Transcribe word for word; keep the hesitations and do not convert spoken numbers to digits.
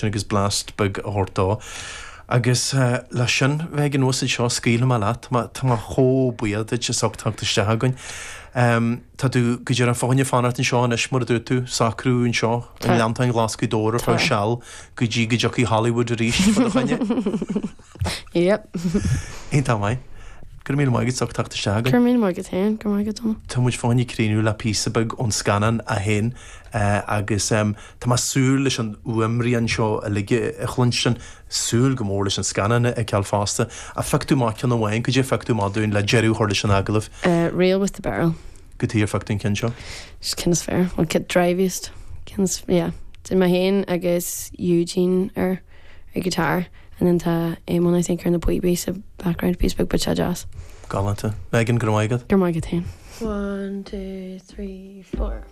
Agus blast beag a thabhairt dó. Agus uh, le sin bheith an úsaid seo scaoilfidh mé leat tá mé chomh buíoch duit as ucht teacht isteach againn. Um, tá tú go dtí an fáinne fanacht anseo anois mar a dúirt tú socrú anseo an Gleanntáin Ghlas Ghaoth Dobhair ar feadh seal go dtí go dtiocfaidh Hollywood arís fá do choinne. Yep. Iontach maith. Go raibh míle maith agat as ucht teacht isteach againn. Go raibh míle maith agat féin go maith go Tá muid fá choinne críochnú le píosa beag ón scannán é féin uh, agus um, Tá mé súil leis an fhuaimrian seo uilig a chluinstin súil go mór leis an scannán a fheiceáil fosta a phioc tú amach ceann amháin cad é a phioc tú amach dúinn le deireadh a chur leis an agallamh. Uh, Reel with the barrel. Cad chuige ar phioc tú an ceann seo? Just ceann is fearr well get driviest ceann is yeah Did mé féin agus Eugene ar ar guitar and then tá Eamon I think ar na píobaí sa background piece beag but sé jazz. Galánta. Megan go maigad? Gur maigad féin. One, two, three, four.